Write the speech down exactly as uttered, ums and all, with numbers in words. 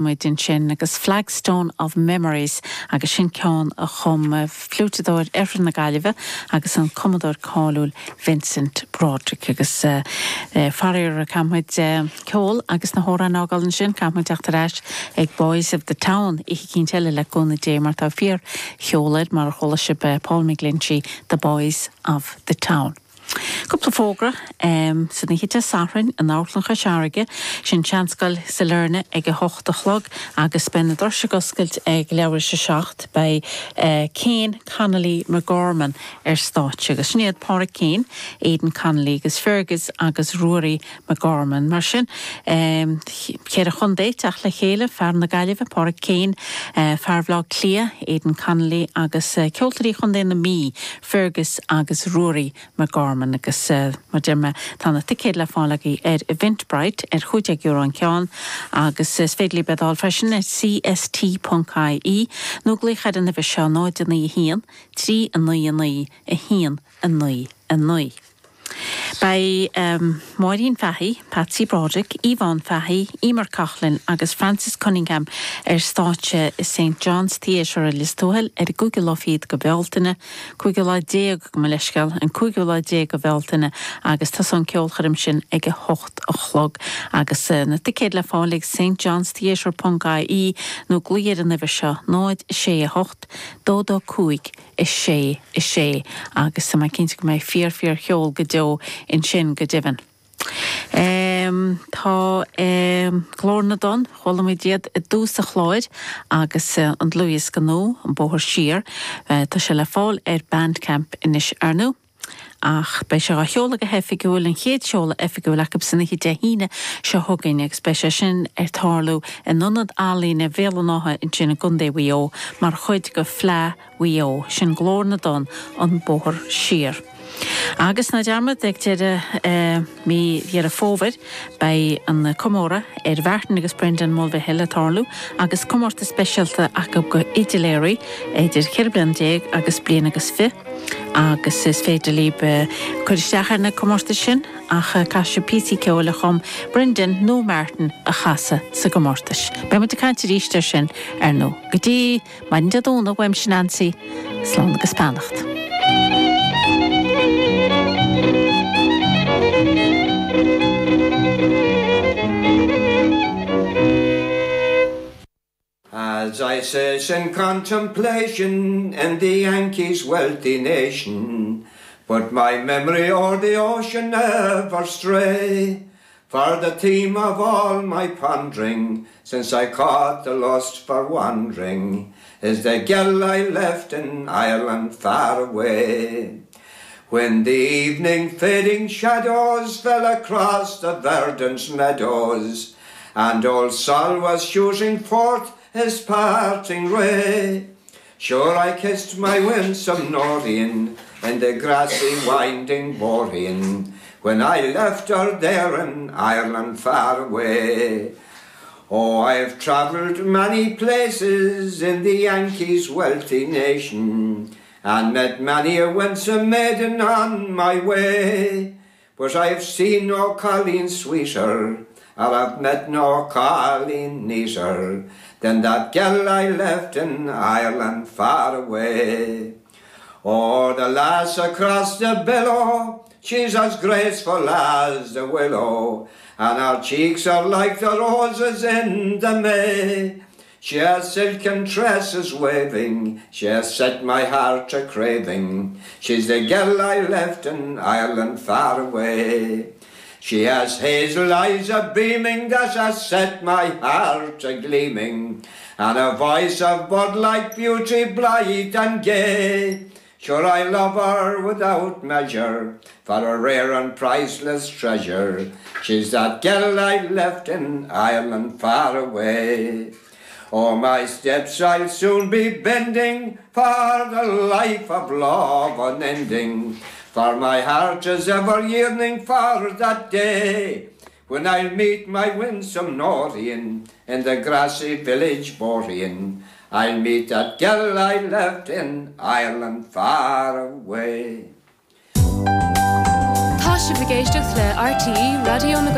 Muid ansin agus Flagstone of Memories agus sin ceann a chum fliúiteadóir Oirthear na Gaillimhe agus an cumadóir cáiliúil Vincent Broderick agus uh, uh, faraor caithfimid uh, ceol agus na hamhráin a fhágáil ansin caithfimid teacht ar ais ag Boys of the Town oíche eile le cúnamh Dé mar tá fíorcheol air mar a chuala sibh Paul McGlinchey, The Boys of the Town. Cúpla fógra um, san oíche Dé Sathairn in Amharclann Chois Fharraige sin Seanscoil Sailearna ag a hocht a chlog agus beidh na doirse ag oscailt ag leathuair tar éis a seacht beidh uh, Kane Connolly McGorman ar stáitse agus sin iad Pádraig Kane, Aidan Connolly agus Fergus agus Ruairí McGorman mar sin um, ceithre chontae ag teacht le chéile fear na Gaillimhe Pádraig Kane, uh, fear Bhaile Átha Cliath, Aidan Connolly agus uh, ceoltóirí chontae na Mí, Fergus agus Ruairí McGorman. Agus uh, mar deir mé tá na ticéid le fáil agaibh ar Eventbrite ar chúig déag euro an ceann agus is féidir libh iad a fháil freisin ar cst.ie nó glaoch ar an uimhir seo náid a naoi a haon, trí a naoi a naoi a haon a naoi a naoi. Beidh um, Máirín Fahy, Patsy Broderick, Yvonne Fahy, Emer Coughlin agus Francis Cunningham ar stáitse i St John's Theatre i Lios Tuathail ar an gcúigiú lá fichead de Bhealtaine, cúigiú lá déag gabh mo leithscéal an cúigiú lá déag de Bhealtaine agus tá an ceolchoirm sin ag a hocht a chlog agus uh, na ticéid le fáil ag St John's Theatre.ie nó glaoigh ar an uimhir seo náid sé a hocht, dó dó cúig a sé a sé agus tá mé cinnte go mbeidh fíor fíorcheol go deo ansin go deimhin. Um, tá um, Glór na dTonn chuala muid iad i dtús an chláir agus uh, an dlúthdhiosca nua an bóthar siar uh, tá sé le fáil ar Bandcamp anois ar ndóigh. ach beidh sé á sheoladh go hoifigiúil an chéad seoladh oifigiúil acu san oíche Dé hAoine seo chugainn agus beidh sé sin ar tarlú in Ionad Ealaíne Bhéal an Átha ansin i gContae Mhaigh Eo mar chuid de Fleadh Mhaigh Eo sin Glór na dTonn an bóthar siar. Agus ná dearmad ag deireadh uh, mí Dheireadh Fómhair beidh an comóradh ar Mhartin agus Brendan Mulvihill ag tarlú agus comórtas speisialta acu do fhidiléirí idir ceithre bliana déag agus bliain agus fiche agus is féidir libh cur isteach ar na comórtais sin ach caithfidh sibh píosaí ceoil a chum Brendan nó Martin a chasadh sa gcomórtas. Beimid ag caint arís air sin ar ndóigh. Go dtí maidin Dé Domhnaigh uaimse Nancy, slán agus beannacht. As I sit in contemplation in the Yankees' wealthy nation, but my memory o'er the ocean never stray, for the theme of all my pondering, since I caught the lust for wandering, is the girl I left in Ireland far away. When the evening fading shadows fell across the verdant meadows, and old Sol was shooting forth his parting ray, sure I kissed my winsome Noreen in the grassy winding boreen, when I left her there in Ireland far away. Oh, I've travelled many places in the Yankees' wealthy nation, and met many a winsome maiden on my way. But I've seen no colleen sweeter, or I've met no colleen neater, than that girl I left in Ireland far away. Oh, the lass across the billow, she's as graceful as the willow, and her cheeks are like the roses in the May. She has silken tresses waving, she has set my heart a craving. She's the girl I left in Ireland far away. She has hazel eyes a beaming that has set my heart a gleaming, and a voice of bud-like beauty blithe and gay. Sure I love her without measure, for a rare and priceless treasure. She's that girl I left in Ireland far away. Oh, my steps I'll soon be bending for the life of love unending, for my heart is ever yearning for that day when I'll meet my winsome Noreen in the grassy village boreen. I'll meet that girl I left in Ireland far away. Tá sibh ag éisteacht le RTÉ Raidió na